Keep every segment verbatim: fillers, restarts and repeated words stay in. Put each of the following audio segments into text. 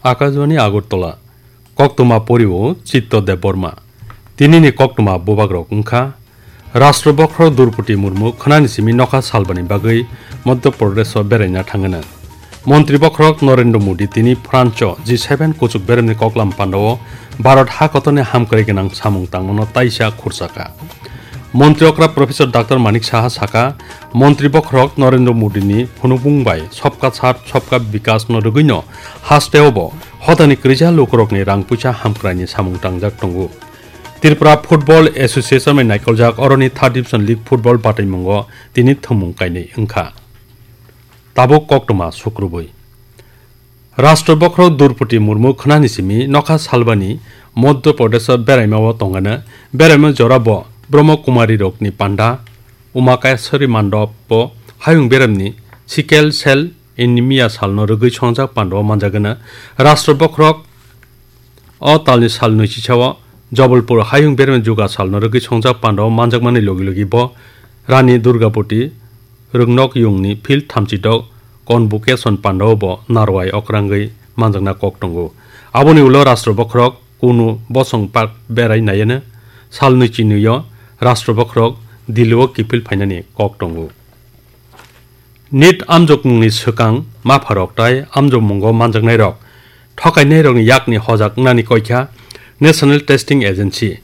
Akajwani Agartala, koktwma poriwo Chitto Debbarma. Tinini koktwma bubagrok wngkha, Rashtra Bokhorok Droupadi Murmu khwnani simi nokha salbani bagwi Madhya Pradesho beraina thangano. Montri Bokhorok Narendra Modi tini France-o G seven kuchuk beremni koklam pandao Bharat ha kotorni hamkrai gwnang samung tangmano taisa khurchaka. Montri okra Professor Doctor Manik Saha saka, Montri Bokhorok Narendra Modini phunukmung bai Sabka Saath Sabka Vikas no rwgwino haste obo hodani kwrwija lukurokni rang puisa hamkraini samung tangjak tongo. Tripura Football Association bai naikoljak oroni Third Division League Football bataimungo tini thwngmung kainwi wngkha. Tabuk koktwma sukrubwi. Rashtra Bokhorok Droupadi Murmu khwnani simi nokha salbani Madhya Pradesho beraimao tongano. Beraima jorabo Brahma Kumari rokni panda Umakeswari Mandopo hayung beremni sickle cell anemia salno rwgwi songjak pandao manjagano. Rashtra Bokhorok o talni sal nwichisa o Jabalpur hayung beremni juga salno rwgwi songjak pandao manjakmani logi logi bo Rani Durgabati Rwngnok yungni field thamchi dok convocation pandao bo narwai okrangwi manjakna kok tongo. Aboni ulo Rashtra Bokhorok kunu bosong park berai naiano sal nwichi nwio Rashtra Bokhorok Delhi-o kiphil phainani kok tongo. NEET amjokmungni swkang mapharok tai amjokmungo manjaknairok thokainairokni yakni hojak wngnani koikha National Testing Agency.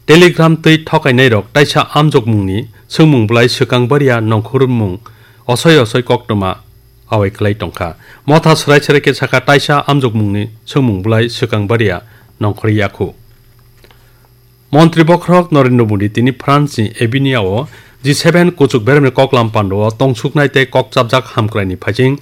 Telegram twi thokainairok taisa amjokmungni swngmung bwlai swkang baria nongkhormung osoi osoi koktwma awai kwlai tongkha. Motha swrai swrai khe sakha taisa amjokmungni swngmung bwlai swkang baria nongkhor yakhu. Montri Bokhorok Narendra Modi tini France-ni Avignon-o G seven kuchuk beremni koklam pandao tongsuknai tei kokchapjak hamkraini phaising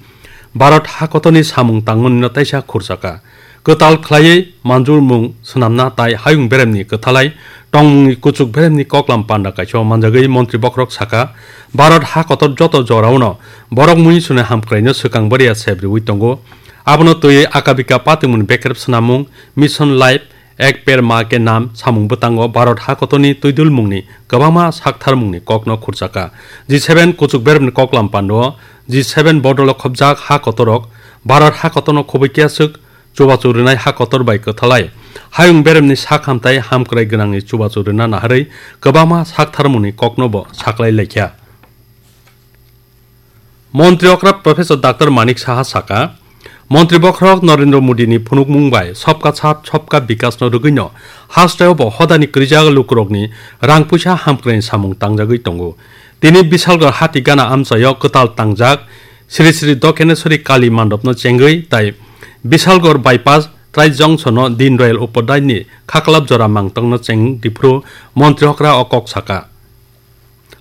Bharat hakotorni samung tangmanino taisa khurchaka. Kwtal khlaiwi manjurmung swnamna tai hayung beremni kwthalai tongmungni kuchuk beremni koklam panda kaisa manjagwi Montri Bokhorok saka, Bharat hakotor joto joraono borok muinsuni hamkraino swkang baria sebriwi tongo. Abono twiwi akabika patimungni bekrep swnamung Mission Life Ek Ped Maa Ke Naam samung bwtango Bharat hakotorni twidulmungni kwbangma saktharmungni kokno khurchaka. G seven kuchuk beremni koklam pandao G seven bodolo khopjak hakotorok Bharat hakotorno khobwi kiya swk chubachu rwnai hakotor bai kwthalai hayung beremni sak hamtai hamkrai gwnangni chubachu rwna naharwi kwbangma saktharmungni koknobo saklai laikha. Montri okra Professor Doctor Manik Saha saka, Montri Bokhorok Narendra Modini phunukmung bai Sabka Saath Sabka Vikas no rwgwino hasteo bo hodani kwrwijak lukurokni rang puisa hamkraini samung tangjagwi tongo. Tini Bisalgor hati gana amchaio kwtal tangjak Sri Sri Dokheneswari Kali mandopno chengwi tai Bisalgor bypass trai jongsono Dindayal Upadhyayni khaklap jora mangtongno cheng diphuru montri okra o kok saka.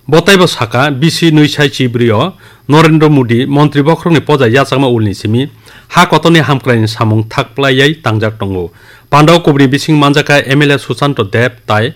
Bo taibo saka, bisi nwi sai chibri o Narendra Modi montri bokhorokni poja yachakma ulni simi ha kotorni hamkraini samung thakplaiwi tangjak tongo. Pandao kubuni bising manjakha M L A Susanto Deb tai